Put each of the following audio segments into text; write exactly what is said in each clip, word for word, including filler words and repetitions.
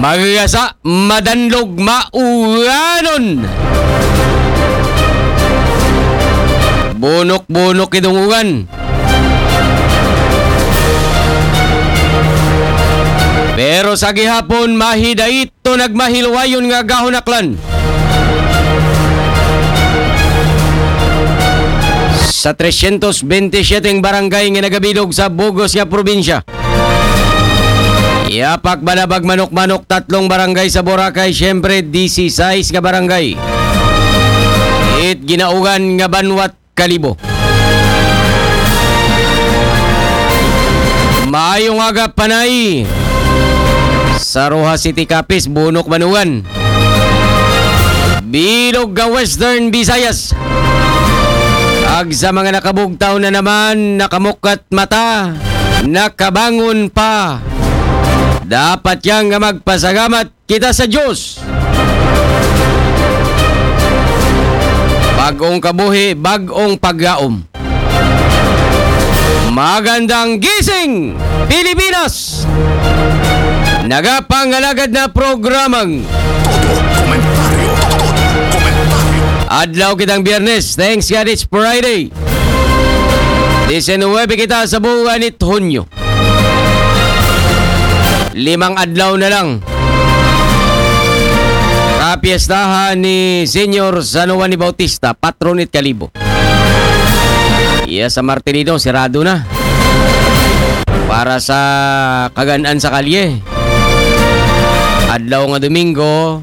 Pagasa, madanlog, mauganon. Bunok-bunok idong ugan. Pero sa gihapon, mahidait to nagmahiluwayon nga gahunaklan. Sa tresyentos bente siyete barangay nga nagabilog sa bugos nga probinsya. Yapak, Banabag, Manok-Manok, tatlong barangay sa Boracay, siyempre, disisais nga barangay. It ginaugan nga banwat Kalibo. Maayong aga, Panay. Sa Roxas City, Capiz, Bunok, Manugan. Bilog nga Western Visayas. Ag sa mga nakabugtaw na naman, nakamukat mata, nakabangon pa. Dapat yang nga magpasalamat kita sa Diyos. Bagong kabuhi, bagong paglaom. Magandang gising, Pilipinas! Nagapangalagad na programang Todo Komentaryo. Todo Komentaryo. Adlaw kitang Biyernes. Thanks God it's Friday. Diecinueve kita sa buwan it Hunyo. Limang adlaw na lang. Kapiestahan ni Senyor San Juan ni Bautista, patron it Kalibo. Iya sa Martirino, sirado na. Para sa kagan-an sa kalye. Adlaw nga Domingo,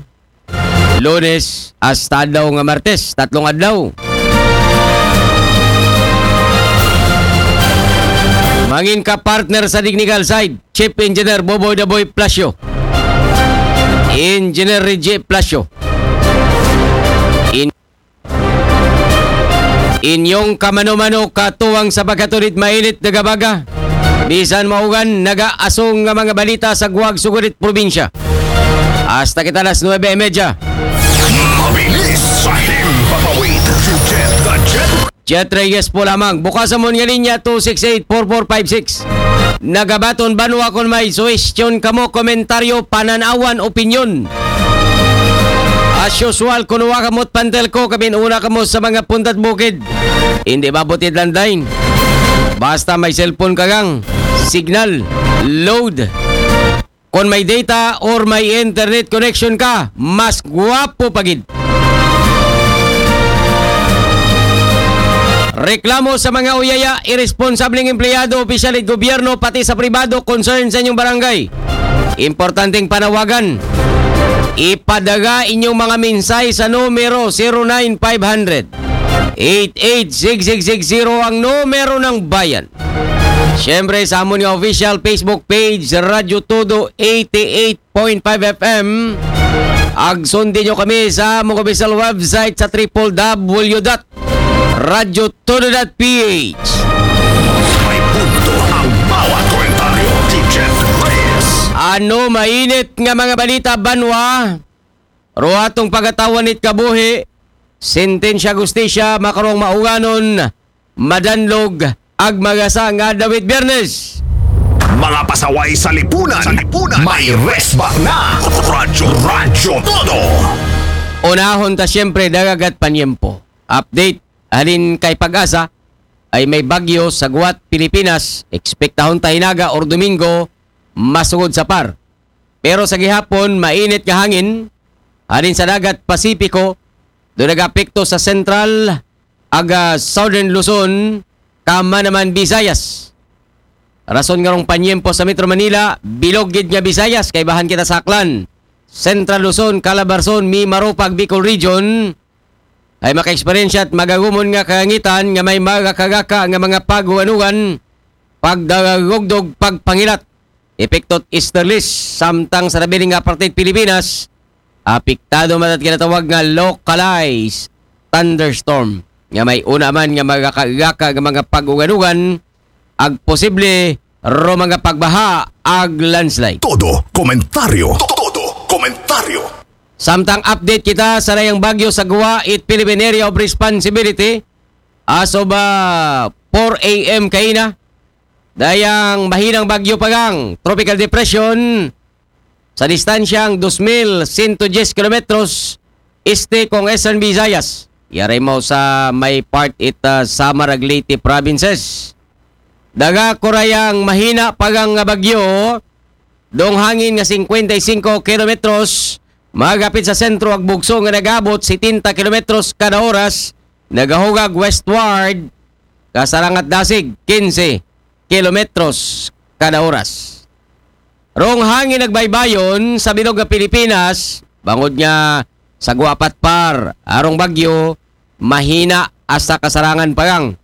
Lunes, hasta adlaw nga Martes, tatlong adlaw. Mangin ka partner sa technical side, Chief Engineer Boboy Daboy Plasyo. Engineer Reggie Plasyo. In-, inyong kamano-mano katuwang sa pagkatulit mainit na gabaga. Bisan maugan, nagaasong nga mga balita sa guwag sugurit probinsya. Hasta kita alas nuebe y media. Mabilis sa himpapawid. Jet the Jet. Jet Reyes po lamang. Bukas sa mon nga linya, two six eight, four four five six. Nagabaton banwa kon may suwestyon kamo, komentaryo, pananawan, opinyon. As usual, kunuha kamot pantel ko, kami una kamo sa mga puntat bukid. Hindi ba butit lang dain? Basta may cellphone ka gang, signal, load. Kung may data or may internet connection ka, mas gwapo pa gid. Reklamo sa mga uyaya, irresponsableng empleyado, opisyal it gobyerno, pati sa pribado, concern sa inyong barangay. Importanteng panawagan. Ipadala inyong mga mensahe sa numero zero nine five hundred, eight eight six six six zero, ang numero ng bayan. Siyempre, sa amon nga official Facebook page, Radyo Todo eighty-eight point five F M. Ag sundin nyo kami sa among official website sa triple W dot radyo todo dot P H. May punto ang bawat komentaryo. Teacher Reyes. Ano mainit nga mga balita, banwa? Ruhatong pagatawan it kabuhi, sentensya, hustisya, makarong mauganon, madanlog, ag magasa nga adlaw it Biyernes. Mga pasaway sa lipunan, sa lipunan, may resbat na. Radyo, Radyo Todo. Unahon ta siyempre, dagagat panyempo. Update, halin kay Pag-asa, ay may bagyo sa guwat Pilipinas, ekspektahon ta hinaga or Domingo, masugod sa par. Pero sa gihapon, mainit nga hangin, halin sa dagat Pasipiko, do nagapekto sa Central, aga Southern Luzon, kama naman Visayas. Rason nga rong panyempo sa Metro Manila, bilog gid nga Visayas, kay bahan kita sa Aklan, Central Luzon, Calabarzon, Mimaropa ag Bicol Region, ay maka-eksperyensya at magagumon nga kalangitan nga may magakagaka nga mga pag-uganugan, pagdagagugdog, pagpangilat. Epekto it easterlies, samtang sa nabiling nga parte it Pilipinas, apektado man it ginatawag nga localized thunderstorm, nga may una man nga magakagaka nga mga pag-uganugan, ag posible ro mga pagbaha ag landslide. Todo komentaryo. Todo komentaryo. Samtang update kita sa dayang bagyo sa guwa it Philippine Area of Responsibility as of, ah, four A M kaina. Dayang mahinang bagyo pa gang tropical depression sa distansyang dos mil sento diyes kilometros este kong Eastern Visayas. Yaray mo sa may part it, ah, Samar ag Leyte provinces. Daga kurayang mahina pagang nga bagyo, dong hangin nga singkwenta y singko kilometros, magapit sa sentro ag bugso nga nagabot setenta kilometros kada oras, nagahugag westward, kasarangat dasig, kinse kilometros kada oras. Rong hangin nagbaybayon sa bilog nga Pilipinas, bangod nga sa guapat par, arong bagyo, mahina hasta kasarangan pagang.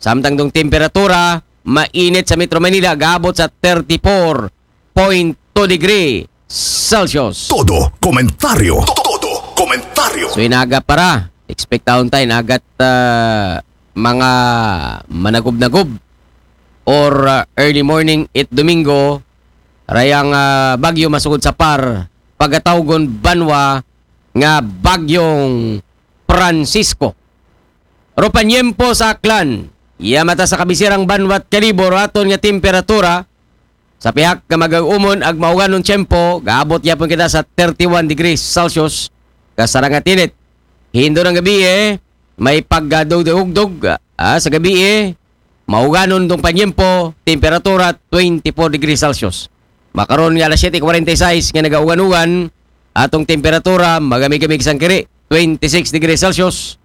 Samtang dong temperatura, mainit sa Metro Manila, gaabot sa thirty-four point two degree Celsius. Todo komentaryo. Todo komentaryo. So, inagat para. Expect taon tayo, inagat, ah, mga managub-nagub or, ah, early morning it Domingo, rayang, ah, bagyo masugod sa par, pagatawgon banwa nga Bagyong Francisco. Ro panyempo sa Aklan, iya mata sa kabisirang banwa't kalibor aton nga temperatura, sa pihak nga magag-umon ag mauganon tiyempo, gaabot yapon kita sa thirty-one degrees Celsius, kasarangat init. Hindo ng gabi eh, may paggadugdugdog, ah, sa gabi eh, mauganon dong panyempo, temperatura twenty-four degrees Celsius. Makaron nga alas siyete kwarenta y seis nga nagaugan-ugan, atong temperatura, magamig-gamig sang kiri, twenty-six degrees Celsius.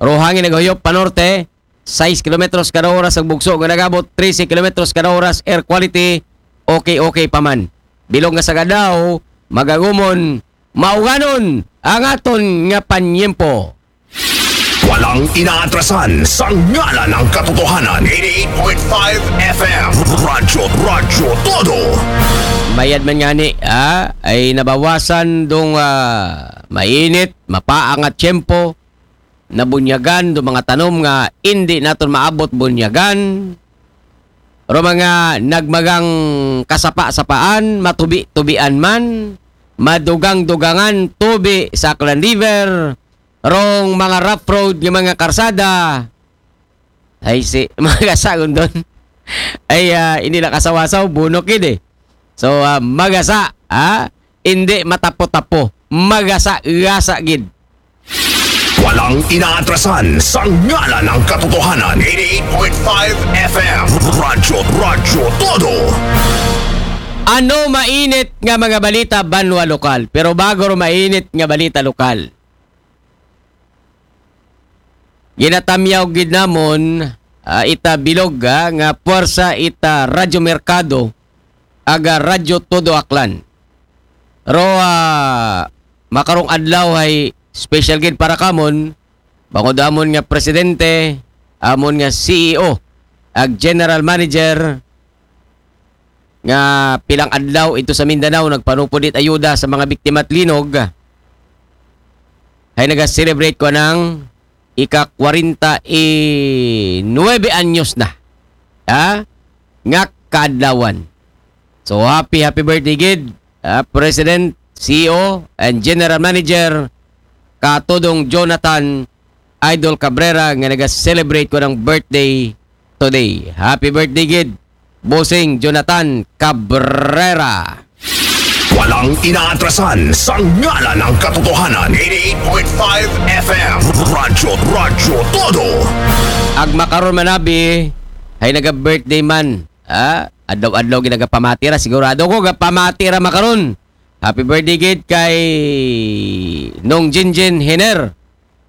Ro hangin nagahuyop panorte, sais kilometros kada oras ang bugso nga nagabot, trese kilometros kada oras, air quality, okay, okay pa man. Bilog nga sa gadaw, magagumon, mauganon ang aton nga panyempo. Walang inaatrasan sa ngalan ng katotohanan. Eighty-eight point five F M. Radyo, Radyo Todo. Mayad man nga ni, ah, ay nabawasan dong, ah, mainit, mapaang at tiyempo, nabunyagan do mga tanom nga indi naton maabot bunyagan. Ro mga nagmagang kasapa-sapaan, matubi-tubian man, madugang-dugangan tubi sa Aklan River, rong mga rough road nga mga karsada. Ay, si, mga kasagon doon. Ay, ah, hindi nakasawasaw, bunok yun eh. So, ah, magasa, ah, hindi matapo-tapo. Magasa-gasa gid. Walang inaatrasan sa ngalan ng katotohanan. Eighty-eight point five F M. Radyo, Radyo Todo. Ano mainit nga mga balita banwa lokal? Pero bago ro mainit nga balita lokal, ginatamyaw gid namon, ah, ita bilog, ah, nga puwersa ita Radyo Merkado, aga Radyo Todo Aklan. Ro, ah, makarong adlaw ay special gid para kamon, bangod amon nga presidente, amon nga C E O, ag general manager, nga pilang adlaw ito sa Mindanao nagpanupod it ayuda sa mga biktima at linog, ay naga-celebrate ko ng ika kwarenta y nuebe anyos na, ha, nga kaadlawan. So, happy, happy birthday gid, ah, President, C E O, and General Manager, Katodong Jonathan Idol Cabrera, nga naga-celebrate ko ng birthday today. Happy birthday gid, Bossing Jonathan Cabrera. Walang inaatrasan sa ngalan ng katotohanan. Eighty-eight point five F M. Radyo, Radyo Todo. Ag makaron manabi, ay naga-birthday man. Ah, adlaw-adlaw ginagapamati ra. Sigurado ko, gapamati ra makaron. Happy birthday gid kay Nong Jinjin Hiner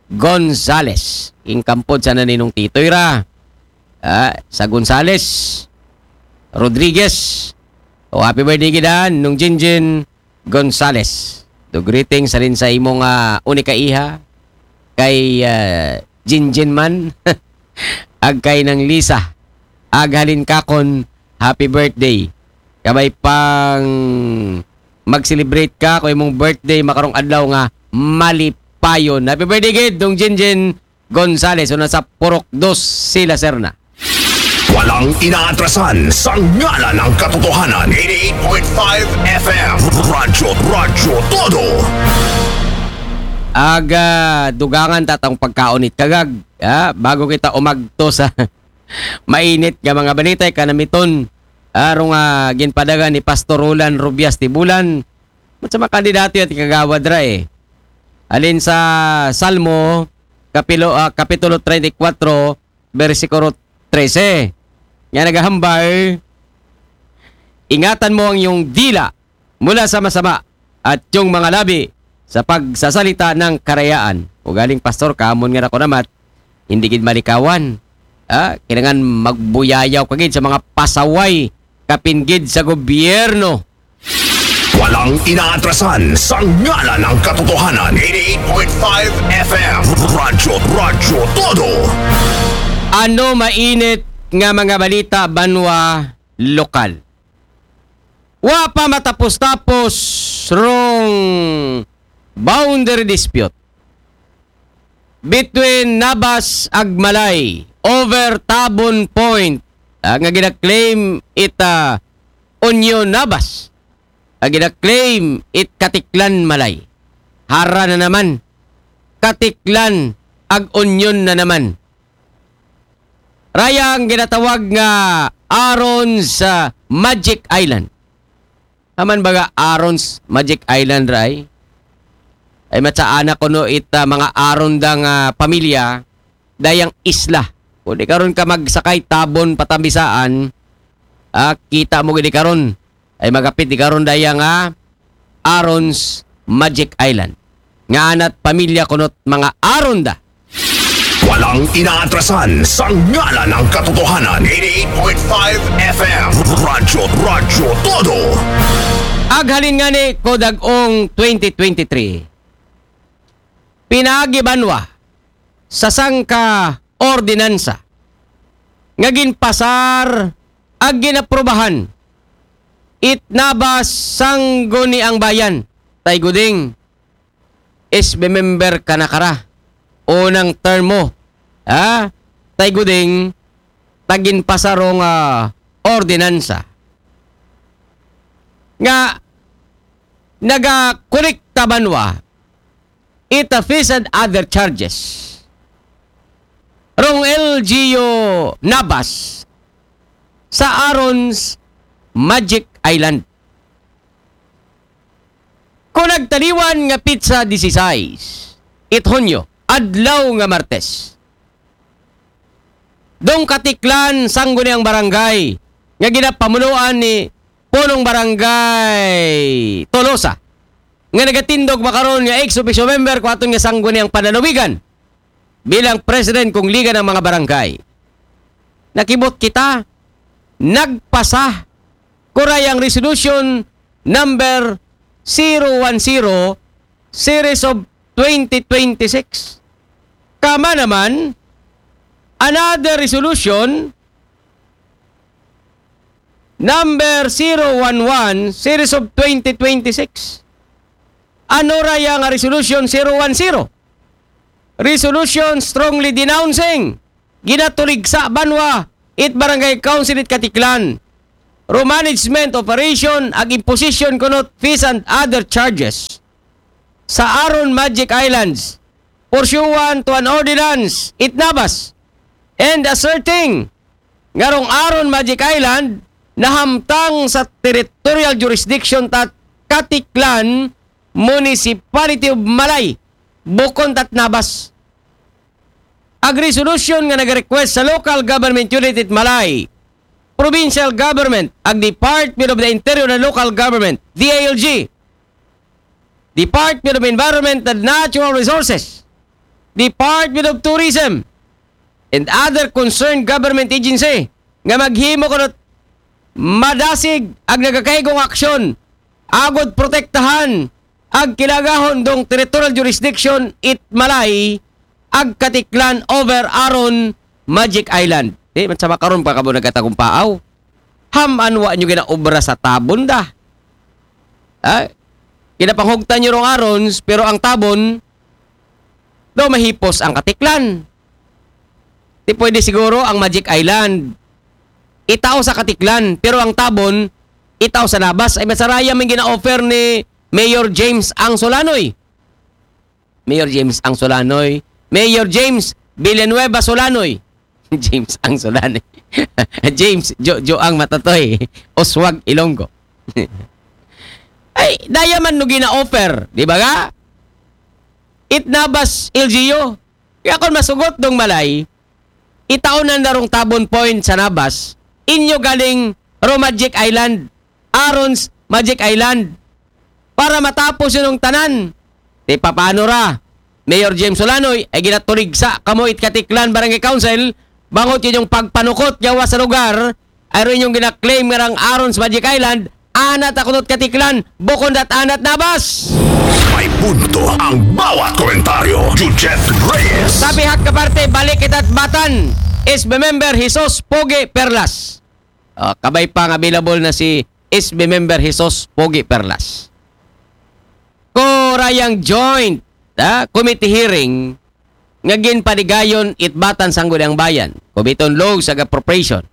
Gonzales. Ingkampod sana ni Nong Titoy ra. Ah, sa Gonzales Rodriguez. O, happy birthday gid, ah, Nong Jinjin Gonzales. Do greeting sa rin sa imong, ah, unika iha kay, ah, Jinjin man. Ag kay nang Lisa. Ag halin kakon, happy birthday. Kabay pang mag-celebrate ka ko imong birthday makarong adlaw nga malipayon. Happy birthday gid, Dong Jinjin Gonzales, una sa Purok Dos, Sila Serna. Walang inaatrasan sa ngalan ng katotohanan. Eighty-eight point five F M. Radyo, Radyo Todo. Aga, dugangan tatang pagkaon it kagag. Ah, bago kita umagto sa mainit nga mga balita, kanamiton, arong, ah, ginpadagan ni Pastor Roland Rubias Tibulan, Sa mga kandidato yan, kagawad ra eh. Alin sa Salmo, kapilo, ah, Kapitulo treinta y cuatro, bersikulo trese. Nga nagahambal, ingatan mo ang iyong dila mula sa masama at yung mga labi sa pagsasalita ng karayaan. O galing, Pastor, kamon nga ako namat, hindi gid malikawan. Ah, kailangan magbuyayaw kagid sa mga pasaway kapinggid sa gobyerno. Walang inaatrasan sa ngalan ng katotohanan. Eighty-eight point five F M. Radyo, Radyo Todo. Ano mainit nga mga balita banwa lokal? Wa pa matapos-tapos rong boundary dispute between Nabas ag Malay over Tabon Point, ah, nga gina-claim it, ah, Union Nabas, nga gina-claim it Katiklan Malay. Hara na naman. Katiklan ag Union na naman. Raya ang ginatawag nga Aaron's, ah, Magic Island. Aman baga Aaron's Magic Island, ray? Ay, matsaana kuno it, ah, mga Aaron da nga pamilya, dayang isla. Kung di karon ka magsakay Tabon patambisaan, ah, kita mo gid karon. Ay, magapit di karon daya nga Aaron's Magic Island. Nga ana't pamilya kuno't mga Aaron da. Walang inaatrasan sa ngalan ng katotohanan. Eighty-eight point five F M. Radyo, Radyo Todo. Aghalin nga ni ko dag-ong twenty twenty-three, pinaagi banwa sa sangka ordinansa nga ginpasar ag ginaprubahan it Nabas Sangguniang Bayan. Tay Guding, S B member ka na kara. Unang term mo. Ha? Tay Guding, taginpasar rong, ah, ordinansa nga nagakolekta banwa it, ah, fees and other charges rong L G U Nabas sa Aaron's Magic Island. Kung nagtaliwan nga pitsa disisais, it Hunyo, adlaw nga Martes, dong Katiklan, Sangguniang Barangay, nga ginapamunuan ni Punong Barangay Tolosa, nga nagatindog makaron nga ex officio member ko aton nga Sangguniang Panlalawigan bilang president kong Liga ng mga Barangay. Nakibot kita, nagpasa, kurayang resolution number zero one zero, series of twenty twenty-six. Kama naman, another resolution number zero one one, series of twenty twenty-six. Ano raya nga resolution zero one zero? Resolution strongly denouncing ginatuligsa banwa it Barangay Council it Katiklan ro management operation ag imposition kunot fees and other charges sa Aaron Magic Islands pursuant to an ordinance it Nabas, and asserting nga rong Aaron Magic Island nahamtang sa territorial jurisdiction tat Katiklan, Municipality of Malay, bukon tat Nabas. Ag resolution nga nag-request sa local government unit it Malay, provincial government, ag Department of the Interior and Local Government, D I L G, Department of Environment and Natural Resources, Department of Tourism, and other concerned government agency nga maghimo kunot madasig ag nagakaigong aksyon agod protektahan ag kilagahon dong territorial jurisdiction it Malay ag Katiklan over Aaron Magic Island. Di man sa makaron pa kamo nagkatagumpaaw. Ham-an wa nyo ginaobra sa Tabon da. Ha? Ginapanghugtan nyo rong Aarons, pero ang Tabon, daw mahipos ang Katiklan. Di pwede siguro ang Magic Island itao sa Katiklan, pero ang Tabon itao sa Nabas. Ay, masaraya man gina-offer ni Mayor James Ang Solanoy. Mayor James Ang Solanoy. Mayor James Villanueva Solanoy. James Ang Solanoy. James Jo-, Joang Matatoy. Oswag Ilonggo. Ay, Eh, daya man no gina-offer, di ba ga? It Nabas L G U. Kaya kung masugot dong Malay, itaon na narong Tabon Point sa Nabas, inyo galing ro Magic Island, Aaron's Magic Island, para matapos yun ang tanan. Di paano ra? Mayor James Solanoy, ay ginaturig sa kamo it Katiklan Barangay Council, bangot yun yung pagpanukot yawa sa lugar, ay rin yung ginaklaim nga rang Aaron's Magic Island, anat ako not Katiklan, bukon dat anat Nabas. May punto ang bawat komentaryo. Jujet Reyes. Sa pihak ka parte, balik kita't Batan, S B member Jesus Pogi Perlas. Ah, kabay pa nga available na si S B member Jesus Pogi Perlas. Ko rayang joint, ah, committee hearing nga ginpadigayon it Batan Sangguniang Bayan, Committee on Laws ag Appropriation.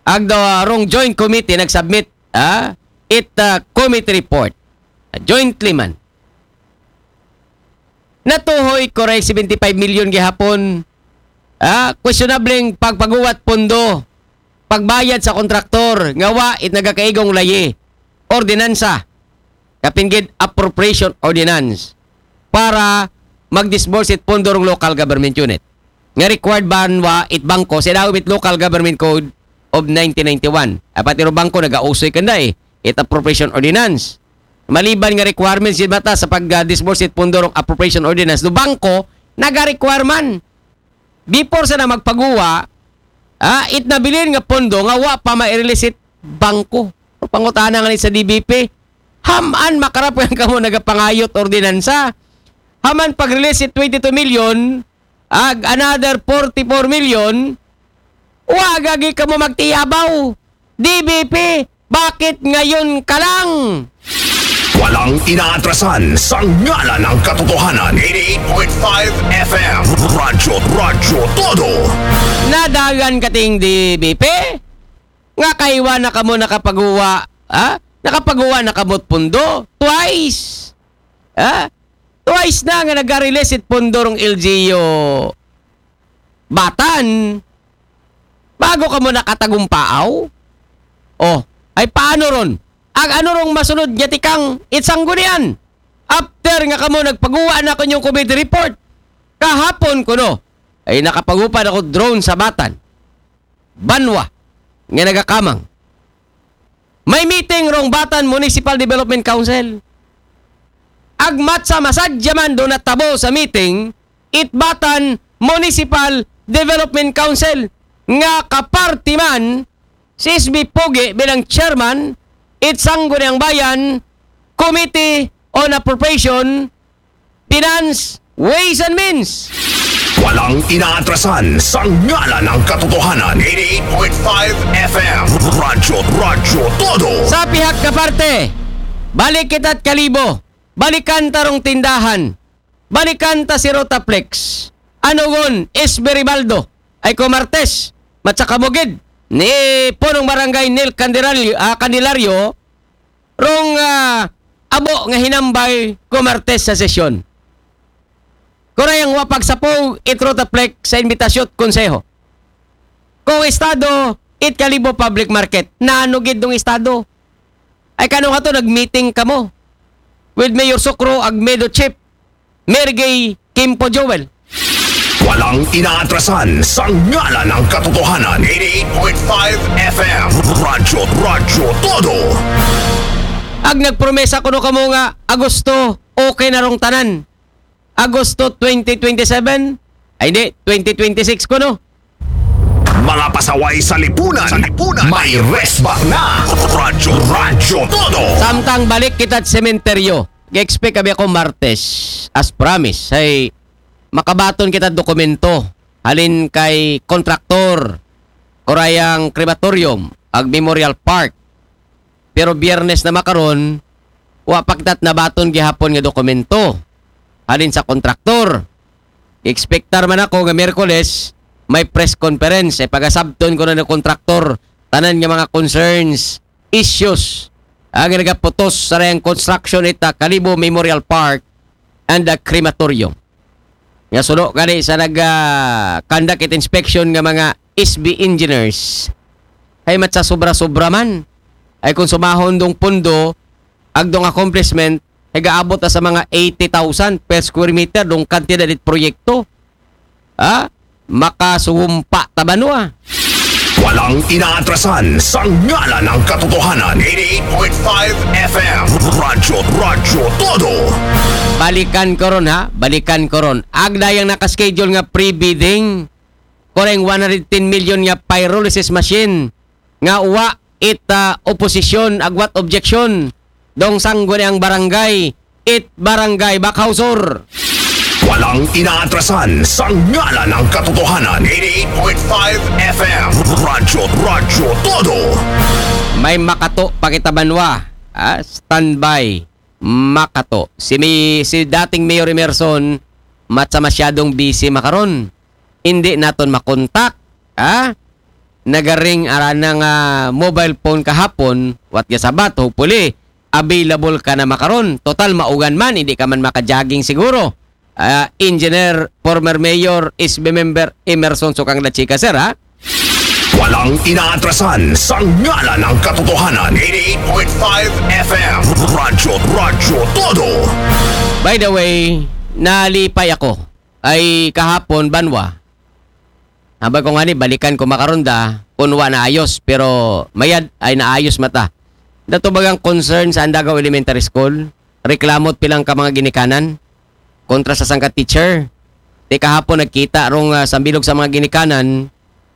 Ag the wrong joint committee nagsubmit, ah, it, ah, committee report. Ah, jointly man. Natuhoy ko ray seventy-five million gihapon. Ah, questionableng pagpaguwat pondo, pagbayad sa kontraktor, nga wa it nagakaigong layi, ordinansa, kapin gid appropriation ordinance para mag-disburse it pondo rong local government unit. Nga required banwa it bangko sa ilaw it Local Government Code of nineteen ninety-one. Apat iro bangko nagausoy kanda eh, it appropriation ordinance. Maliban nga requirements yun bata sa pag-disburse it pondo rong appropriation ordinance, do bangko naga-requirement. Before sa na magpaguwa, ah, it nabilin nga pondo nga wa pa ma-release it bangko. O pangutana nga ni sa D B P, haman makarap nga kamo nagapangayot ordinansa. Haman pag-release it twenty-two million, ag another forty-four million, wa gagi kamo magtiyabaw. D B P, bakit ngayon ka lang? Walang inaatrasan sa ngalan ng katotohanan. eighty-eight point five F M. Radyo, Radyo Todo. Nadagan kating D B P? Nga kaiwa na kamo nakapaguwa, ha? Nakapaguwa na kamo't pundo? Twice. Ha? Twice na nga nag-release it pundo rong L G U Batan. Bago kamo nakatagumpaaw? Oh, ay paano ron? Ag ano rong masunod nga tikang it Sanggunian? After nga kamo nagpaguwa na kunyong committee report. Kahapon kuno, ay nakapagupa na ko drone sa Batan. Banwa, nga nagakamang. May meeting rong Batan Municipal Development Council. Agmat sa masadya man do natabo sa meeting, it Batan Municipal Development Council nga kaparti man si S B Pogi bilang chairman, it Sangguniang Bayan Committee on Appropriation, Finance, Ways and Means. Walang inaatrasan sa ngalan ng katotohanan. eighty-eight point five F M. Radyo, Radyo Todo. Sa pihak ka parte, balik kita't Kalibo, balikan tarong tindahan, balikan ta si Rotaflex, Anugon, S B Ribaldo, ay ko Martes, matsa kamugid ni Punong Barangay Neil Candelario, ah, Candelario, rong, ah, abo nga hinambay ko Martes sa sesyon. Kurayang wa pagsapo it Rotaflex sa imbitasyon konseho. Kung estado, it Kalibo Public Market. Nanugid ng estado. Ay kano nga to, nag-meeting kamo with Mayor Socro ag Medo Chief, Mayor Gay Kimpo Joel. Walang inaatrasan sa ngalan ng katotohanan. eighty-eight point five F M. Radyo, Radyo Todo. Ag nagpromesa kuno kamo nga Agosto, okay na rong tanan. Agosto twenty twenty-seven, ay hindi, twenty twenty-six kuno. Mga pasaway sa lipunan. Sa lipunan. May resback na. Radyo, Radyo Todo. Samtang balik kita't sementeryo. Expect abi ako Martes, as promise. Ay, makabaton kita dokumento. Halin kay kontraktor, kurayang crematorium, ag Memorial Park. Pero Biyernes na makaron, wa pa kita't nabaton gihapon nga dokumento. Halin sa kontraktor. Expectar man ako nga Miyerkules, may press conference. Ay pagasabton ko na ng kontraktor, tanan nga mga concerns, issues, ang nagaputos sa rayang construction ita Kalibo Memorial Park and the crematorium. Nga suno gani sa nag, ah, conduct it inspection nga mga S B engineers. Ay matsa sobra-sobra man. Ay kung sumahon dong pundo, agdong accomplishment, higaabot na sa mga eighty thousand per square meter, dong kantidad it proyekto. Ha? Makasuhumpa ta banwa. Walang inaatrasan sa ngalan ng katotohanan. Eighty-eight point five F M. Radyo, Radyo Todo. Balikan ko ron, ha? Balikan ko ron. Agda yang nakaschedule nga pre-bidding, koreng one hundred ten million nga pyrolysis machine, nga wa it ah, oposisyon, agwat objection, dong sangguniang barangay, it barangay Bakhao Sur. Walang inaatrasan sa ngalan ng katotohanan. Eighty-eight point five F M. Radyo, Radyo Todo. May makato pa kita banwa. Ah, standby. Makato. Si, mi, si dating Mayor Emerson, matsa masyadong busy makaron. Hindi naton makontak. Ha? Nagaring arana nga mobile phone kahapon, wat nga sabat, hopefully, available ka na makaron. Total, maugan man, hindi ka man maka-jogging siguro. Ah, Engineer, former Mayor, S B member, Emerson Sukang Dachika, sir, ha? Walang inaatrasan sa ngalan ng katotohanan. Eighty-eight point five F M. Radyo, Radyo Todo. By the way, nalipay ako. Ay kahapon, banwa. Habang ko nga ni, balikan ko makaron da, kung wa naayos, pero mayad ay naayos mata. Dato bagang concern sa Andagaw Elementary School, reklamo pilang ka mga ginikanan kontra sa sangka teacher. Di kahapon nagkita rong ah, sambilog sa mga ginikanan,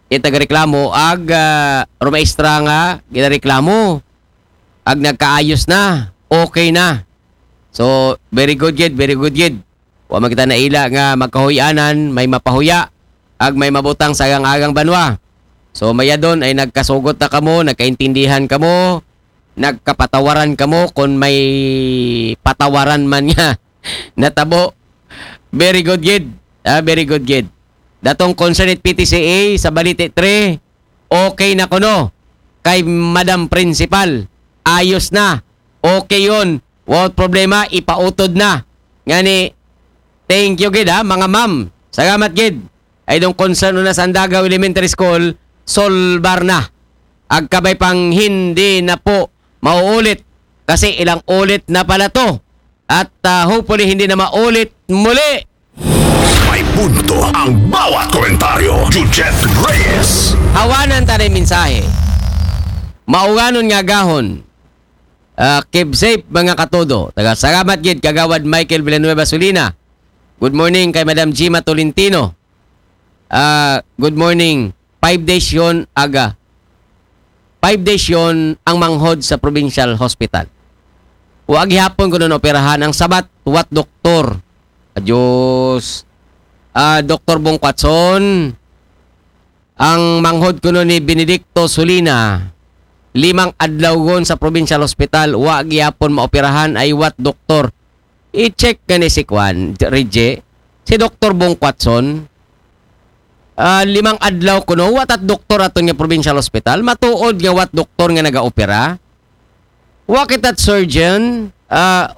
it nagreklamo, ag ah, rumaestra nga ginareklamo, ag nagkaayos na, okay na. So, very good gid, very good gid. Wa man kita naila nga magkahuy-anan, may mapahuya, ag may mabutang sa agang-agang banwa. So, mayadon ay nagkasugot na kamo, nagkaintindihan kamo, nagkapatawaran kamo kung may patawaran man nga natabo. Very good gid. Ah, very good gid. Datong concerned P T C A sa Balite three, okay na kuno. Kay Madam Principal, ayos na. Okay yon. Without problema, ipautod na. Ngani, thank you gid ha, mga ma'am. Salamat gid. Ay dong concern na sa Andagaw Elementary School, solbar na. Agkabay pang hindi na po mauulit. Kasi ilang ulit na pala to. At ah, hopefully hindi na maulit muli. May punto ang bawat komentaryo. Jujet Reyes. Hawanan ta na mensahe. Mauganon nga gahon. Ah, keep safe, mga katodo. Taga salamat gid, Kagawad Michael Villanueva Solina. Good morning kay Madam Gima Tolentino. Ah, good morning. Five days yon aga. Five days yon ang manghod sa provincial hospital. Wa gihapon kuno operahan ang sabat, wat doktor. Adios. Ah, Doktor Bong Quatson, ang manghod kuno ni Benedicto Solina, limang adlaw gon sa provincial hospital, wa gihapon maoperahan ay wat doktor. I-check ka ni si Kwan, Reggie, si Doktor Bong Quatson, ah, limang adlaw kuno, wat at doktor aton nga provincial hospital, matuod nga wat doktor nga nagaopera. Wa kita't surgeon, ah,